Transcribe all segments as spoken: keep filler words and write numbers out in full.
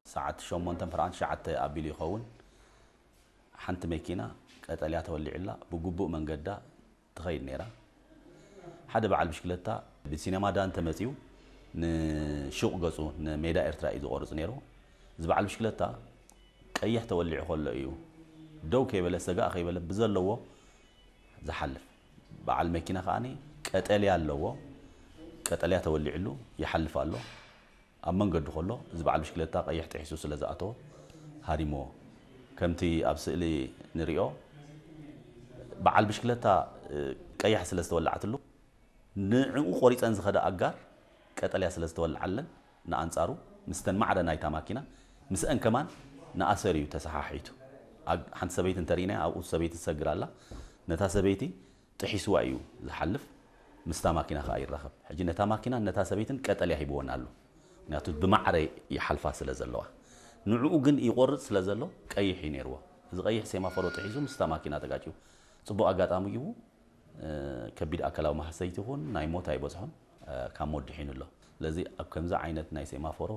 ሰዓት ሸሞንተን ፍርዓን ትሽዓተ አቢሉ ይኸውን። ሐንቲ መኪና ቀጠልያ ተወሊዕላ ብግቡእ መንገዳ ትኸይድ ነይራ። ሓደ በዓል ብሽክለታ ብሲነማ ዳንተ መጺኡ ንሹቕ ገጹ ንሜዳ ኤርትራ እዩ ዝቖርጽ ነይሩ። እዚ በዓል ብሽክለታ ቀይሕ ተወሊዑ ከሎ እዩ ደው ከይበለ ሰጋእ ከይበለ ብዘለዎ ዝሓልፍ። በዓል መኪና ከኣኒ ቀጠልያ ኣለዎ። ቀጠልያ ተወሊዕሉ ይሓልፍ ኣሎ። ኣብ መንገዱ ከሎ፣ እዚ በዓል ብሽክለታ ቀይሕ ጥሒሱ ስለ ዝኣተወ፣ ሃሪምዎ። ከምቲ ኣብ ስእሊ ንሪኦ፣ በዓል ብሽክለታ፣ እ፣ ቀያሕ ስለ ዝተወልዓትሉ፣ ንዕኡ ቆሪጸን ዝኸዳ ኣጋር ቀጠልያ ስለ ዝተወልዓለን፣ ንኣንጻሩ፣ ምስተን ማዕረ ናይታ ማኪና፣ ምስአን ከማን ንኣሰር እዩ ተሰሓሒቱ። ኣግ-፣ ሓንቲ ሰበይቲ እንተ ርኢናያ፣ ኣብኡ ሰበይቲ ትሰግር ኣላ። ነታ ሰበይቲ ጥሒስዋ እዩ ዝሓልፍ፣ ምስታ ማኪና ከኣ ይራኸብ። ሕጂ ነታ ማኪናን ነታ ሰበይትን ቀጠልያ ሂብወን ኣሎ። ምክንያቱ ብማዕረ ይሓልፋ ስለ ዘለዋ። ንዕኡ ግን ይቆርጽ ስለ ዘሎ ቀይሕ እዩ ነይርዎ። እዚ ቀይሕ ሴማፎሮ ጥሒሱ ምስታ ማኪና ተጋጭዩ። ጽቡቕ ኣጋጣሚ እዩ። እ፣ ከቢድ ኣካላዊ ማህሰይቲ ይኹን ናይ ሞት ኣይበጽሖን፣ እ፣ ካብ ሞት ድሒኑ ኣሎ። ስለዚ ኣብ ከምዚ ዓይነት ናይ ሴማፎሮ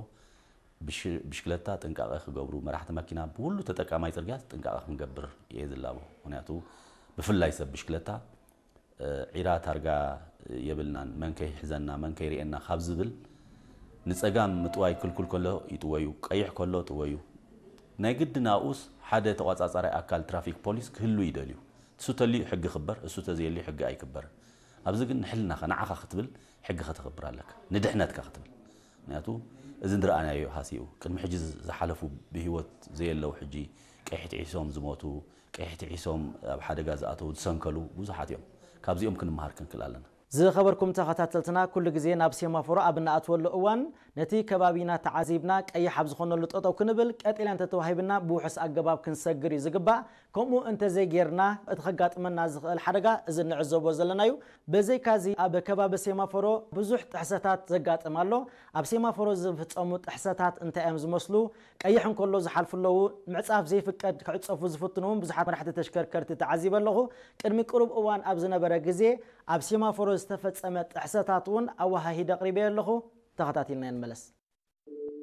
ብሽ-፣ ብሽክለታ ጥንቃቐ ክገብሩ፣ መራሕቲ መኪና፣ ብኩሉ ተጠቃማይ ጽርግያ ጥንቃቐ ክንገብር እየ ዝላቦ። ምክንያቱ ብፍላይ ሰብ ብሽክለታ፣ እ፣ ዒራ ታርጋ የብልናን፣ መን ከይሕዘና፣ መን ከይርእየና ካብ ዝብል፣ ንጸጋም ምጥዋይ ክልኩል ከሎ ይጥወዩ፣ ቀይሕ ከሎ ጥወዩ። ናይ ግድን ኣብኡስ ሓደ ተቋጻጻራይ ኣካል ትራፊክ ፖሊስ ክህሉ ይደልዩ። እሱ ተልዩ ሕጊ ክበር፣ እሱ ተዘየልዩ ሕጊ ኣይክበርን። ኣብዚ ግን ንሕልናኻ፣ ንዓኻ ክትብል ሕጊ ከተኽብር ኣለካ፣ ንድሕነትካ ክትብል። ምክንያቱ፣ እዚ ንረኣናዮ ሃሲኡ፣ ቅድሚ ሕጂ ዝሓለፉ ብህይወት ዘየለዉ ሕጂ ቀይሕ ጥሒሶም ዝሞቱ፣ ቀይሕ ጥሒሶም ኣብ ሓደጋ ዝኣተዉ፣ ዝሰንከሉ ብዙሓት እዮም። ካብዚኦም ክንመሃር ክንክእል ኣለና። ዝኸበርኩም ተኸታተልትና፣ ኩሉ ግዜ ናብ ሴማፎሮ ኣብ እንኣትወሉ እዋን፣ ነቲ ከባቢና ተዓዚብና፣ ቀይሕ ኣብ ዝኾነሉ ጠጠው ክንብል፣ ቀጠልያ እንተተዋሂብና ብውሑስ ኣገባብ ክንሰግር እዩ ዝግባእ። ከምኡ እንተዘይጌርና፣ እቲ ከጋጥመና ዝኽእል ሓደጋ እዚ እንዕዘቦ ዘለና'ዩ። በዘይካዚ፣ ኣብ ከባቢ ሴማፎሮ ብዙሕ ጥሕሰታት ዘጋጥም ኣሎ። ኣብ ሴማፎሮ ዝፍጸሙ ጥሕሰታት እንታይ እዮም ዝመስሉ? ቀይሕ እንከሎ ዝሓልፉ ኣለዉ። ምዕጻፍ ዘይፍቀድ ክዕጸፉ ዝፍትኑ እውን ብዙሓት መራሕቲ ተሽከርከርቲ ተዓዚበ ኣለኹ። ቅድሚ ቅሩብ እዋን ኣብ ዝነበረ ግዜ፣ ኣብ ሴማፎሮ ዝተፈጸመ ጥሕሰታት እውን ኣወሃሂደ ኣቕሪበዮ ኣለኹ። ተኸታቲልና ንመለስ።